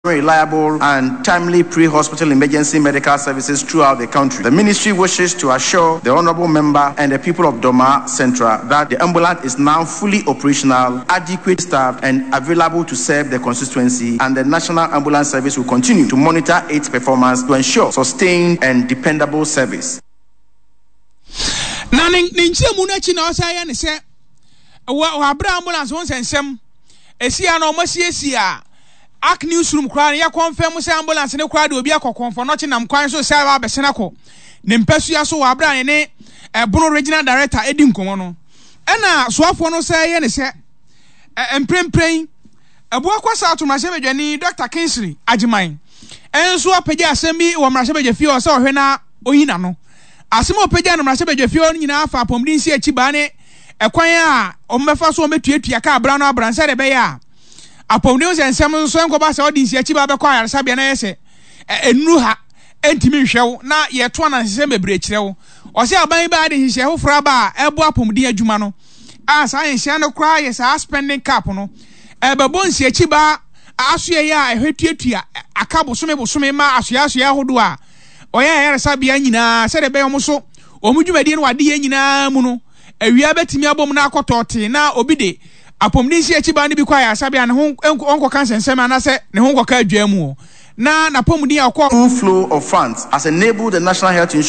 Reliable and timely pre-hospital emergency medical services throughout the country. The ministry wishes to assure the honorable member and the people of Dormaa Central that the ambulance is now fully operational, adequate staffed and available to serve the constituency and the National Ambulance Service will continue to monitor its performance to ensure sustained and dependable service. Na ne ne nkyerɛmu no akyi na ɔsan yɛ ne sɛ wɔ wɔ abere ambulance ho nsɛnsɛm esi a na wɔn asiesie a Ark newsroom koraa no yɛ kɔnfɛm sɛ ambulance no koraa de obi akɔ kɔnfɔnɔkye nam kwan so sɛ aba abɛsen akɔ ne mpasua so wɔ abere a ne ne ɛbono regional director edi nkɔmɔ no. Ɛna soafoɔ no sɛ yɛ ne sɛ mprempren Abuakwa South mmarahyɛbadwani Dɔkta Kingsley Agyeman nso apagya asɛm bi wɔ mmarahyɛbadwafie hɔ sɛ ɔhwɛ na oyi n'ano. Asɛm a ɔpagyaa no mmarahyɛbadwafie hɔ no nyinaa fa apɔmuden nsi akyi baa ne ɛkwan a wɔbɛfa so wɔbɛtuatua kaa bra no abran sɛdeɛ ɛbɛyɛ a apɔmuden ho nsɛnsɛm nso nkɔba sɛ ɔde nsi akyi baa bɛkɔ ayaresabea na ɛyɛ sɛ nnuru ha ntumi nhwɛ wo na yɛto anansesɛm bebree kyerɛ wo. Ɔsɛ aban yi baa de nhyehyɛe foforɔ aba a ɛboa apɔmuden adwuma no a saa nhyehyɛe no koraa yɛ saa spending cap no ɛbɛbɔ nsiakyibaa asoɛeɛ a ɛhwɛ tuatua aka bosome bosome ma asoɛasoɛ ahodoɔ a ɔyɛ ayaresabea nyinaa sɛdeɛ ɛbɛyɛ wɔn so wɔn dwumadie no adeyɛ nyinaa mu no awia bɛtumi abom na akɔtɔ tee na obi de apɔmuden nsiakyibaa no bi kɔ ayaresabea ne ho nkɔka nsɛnsɛm anaasɛ ne ho nkɔka adwaa mu na n'apɔmuden a ɔkɔ Full flow of funds has enabled the National Health Insurance.